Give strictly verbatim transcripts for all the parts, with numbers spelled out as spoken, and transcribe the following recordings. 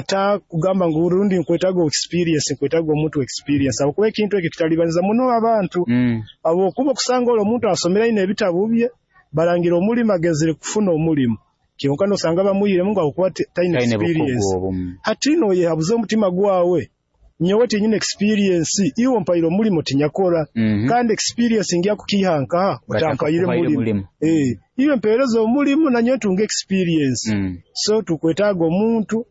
Atakugamba ngu rundi nkwetaaga experience, nkwetaaga omuntu experience, habwokuba ekintu eki kitalibaniza muno abantu, Mm. habwokuba okusanga oli omuntu asomere aine ebitabu bye, barangire omulimo agenzere kufuna omulimu, kyonka noosanga bamwihiremu ngu habwokuba ti taina Taine bukugu experience. Obumu. Hati nooyehabuza omutima gwawe, nyowe tinyina experience, iwe ompaire omulimo tinyakora, Mhm. kandi experience ngya kukiiha nkaha otampaire Batakuhaire mulimo? Mulimu. Ee, iwe mpeereza omulimu nanyowe ntunge experience. Mm. So tukwetaaga omuntu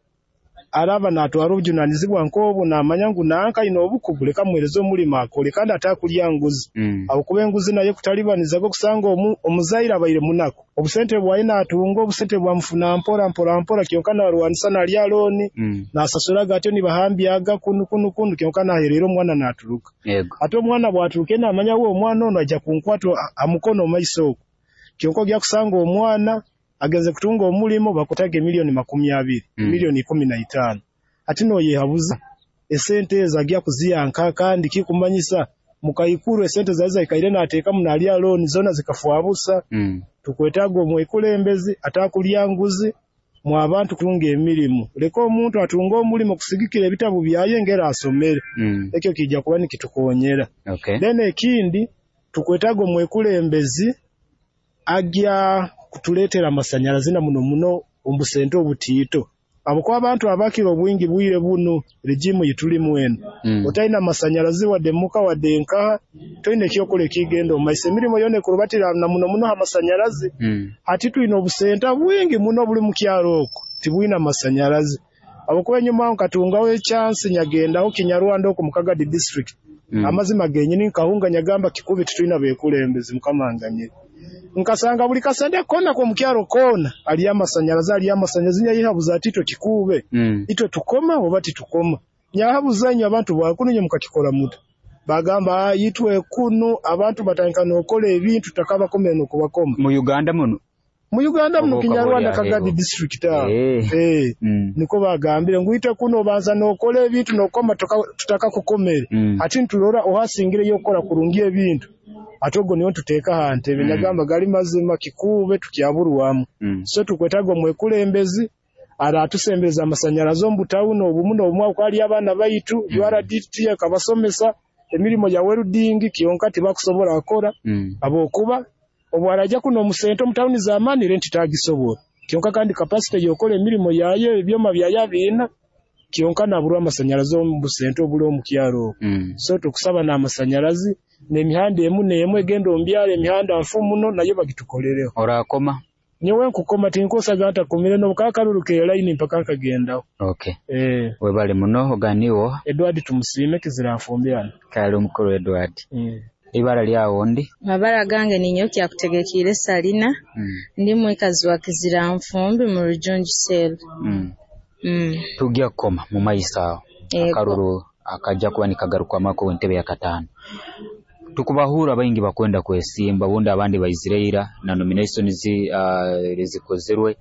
araaba naatwara obujunaanizibwa nk'obu, naamanya ngu nanka aine obukugu, leka mmuheereze omulimo akole, kandi atakulya nguzi, Mm. habwokuba enguzi nayo ekutalibanizaga. Okusanga omu omuzaire abaire munaku, obusente bwaye naatunga obusente bwamufuna mpora mpora mpora, kyonka naarwanisa naalya loan, Mm. naasasuraga atyo, nibahambyaga kunu kunu kunu, kyonka naaherera omwana naaturuka. Yego. Ate omwana bwaturuka naamanya we omwana onu aija kunkwata ha mukono omumaiso oku, kyonka ogya kusanga omwana agenzere kutunga omulimo, bakwetaaga emiliyoni makumi abiri, Mm. miliyoni ikumi na itaano. Hati nooyehabuza esente ezi agya kuziiha nkaha? Kandi kikumanyisa mukaikuru esente zali zaikaire naateekamu naalya loan zoona zikafwa busa. Mm. Tukwetaaga omwekulembezi atakulya nguzi mu abantu kutunga emirimu. Leka omuntu atunge omulimo kusigikira ebitabu byaye engeri asomere. Mm. Ekyo kiija kuba nikitukoonyera. Okay. Then ekindi, tukwetaaga omwekulembezi agya kutuleetera amasanyarazi na muno muno omu busente obutiito, habwokuba abantu abakira obwingi bwire bunu, regime eitulimu enu, Mm. otaina masanyarazi wadde muka wadde nkaha, toina ekyokora ekigenda omu maiso. Emirimo yoona ekurubatira na muno muno ha masanyarazi. Mm. Hati twina obusenta bwingi muno buli mu kyaro oku tibwina masanyarazi, habwokuba enyuma aho nkatungaho echance nyagendaho Kinyarwanda oku mu Kagadi District. Mm. Amazima genyini nkahunga, nyagamba, "Kikuube titwina bekulembezi." Mukama anganyire. Nkasanga buli kasente koona k'omu kyaro koona haliyo amasanyarazi, haliyo amasanyarazi. Nyayehabuza ati, "Itwe Kikuube, Mm. itwe tukoma oba titukoma?" Nyahabuza, "Inywe abantu bwakunu inywe mukakikora muta?" Bagamba, "Ah, itwe kunu abantu batandika n'okora ebintu tutakabakomere n'okubakoma." Mu Uganda muno? Mu Uganda muno. Oba Kinyarwanda, okaba oli Kagadi aheeru. District aho. Eh. Ee. Mm. Niko bagambire ngu itwe kuno obanza n'okora ebintu n'okoma tutakakukomere. Mm. Ati nturora ohasingireyo okukora kurungi ebintu, ate ogwo niwe ntuteeka aha ntebe. Mm. Nyagamba, "Gali mazima, Kikuube tukyaburwamu." Mm. So tukwetaaga omwekulembezi araatusembereza amasanyarazi omu butawuni obumu n'obumu, habwokuba haliyo abaana baitu, Mm. U R D T ekabasomesa emirimo ya welding, kyonka tibakusobora kukora, Mm. habwokuba obu araija kuno omu sente omu tawuni z'amaani, rent tagisobora, kyonka kandi capacity y'okora emirimo yayo, ebyoma byayo abiina, kyonka naaburwa amasanyarazi omu busente obuli omu kyaro oku. Mm. So tukusaba n'amasanyarazi n'emihanda emu n'emu egenda omu byaro, emihanda nfu muno, nayo bagitukolereho. Oraakoma? Nyowe nkukoma, tinkosaga ntakomere, n'obu kaba karuru k'elaini mpaka nkagendaho. Okay. Ee. Webale muno, oganiwo? Edward Tumusiime, Kiziranfumbi hanu. Kale omukuru Edward. Mm. Ibara lyawe ondi? Amabara gange ninyowe Kyakutegekiire Salina. Mm. Ndi mwikazi wa Kiziranfumbi mu Rujunju Cell. Mm. Mm. Tugya kukoma mu maiso aho. Yego. Akaruru akajja kuba nikagarukwamaku entebe ya kataano, tukubahura baingi bakwenda kwesimba, bundi abandi baizire ira na nominations uh, zikozerwe,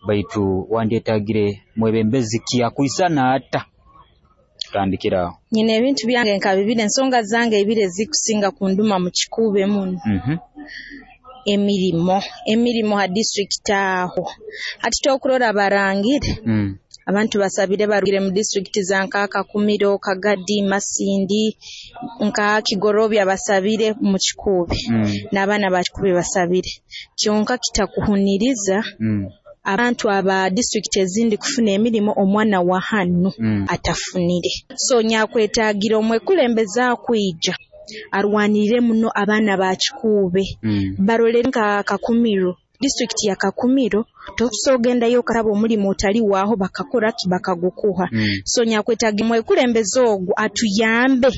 baitu wandyetagire mwebembezi ki, akwisana ata? Tutandikire aho. Nyina ebintu byange nka bibiri, ensonga zange ibiri ezikusinga kunduma mu Kikuube muno. Mhm. Emirimo, emirimo ha district aho. Hati tokurora barangire, Mm. abantu basabire barugire mu district za nka Kakumiro, Kagadi, Masindi, nka Kigorobya, basabire mu Kikuube. Mm. N'abaana ba Kikuube basabire. Kyonka kitakuhuniriza Mm. abantu aba district ezindi kufuna emirimo, omwana wa hanu Mm. atafunire. So nyakwetagire omwekulembeze akwija arwanirire muno abaana ba Kikuube. Mm. Barolere nka Kakumiro, district ya Kakumiro, tokusobola ogendayo okaraba omulimu otali waaho bakakora ki, bakagukuha. Mm. So nyakwetaaga omwekulembeze ogu atuyambe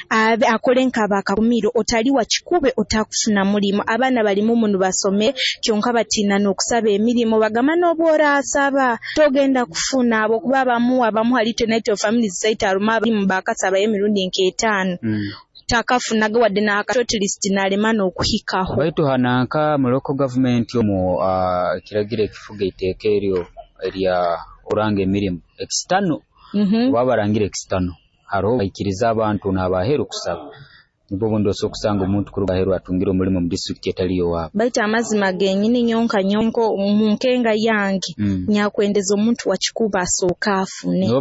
abe akole nk'aba Kakumiro, otali wa Kikuube otakufuna mulimu. Abaana balimu munu basome, kyonka batiina n'okusaba emirimu, bagamba n'obu oraasaba togenda kufuna, habwokuba abamu abamu hali naitwe families zaitu harumu abalimu bakasabayo emirundi nk'etaano, Mm. takafunaga wadde n'aka shortlist nalema n'okuhikaho. Baitu hananka mu local government omu uh, ekiragiro ekifuga eiteeka eryo erya oranga emirimu external, Mhm. oba barangire external, hariho baikiriza abantu n'abaheru kusaba, nibwo obundi osobola okusanga omuntu kuruga aheru atungire omulimu mu district etali yowaabo. Baitu amazima genyini nyonka nyonko mu nkenga yange, Mm. nyakwendeza omuntu wa Kikuube asooka afune. Nibo.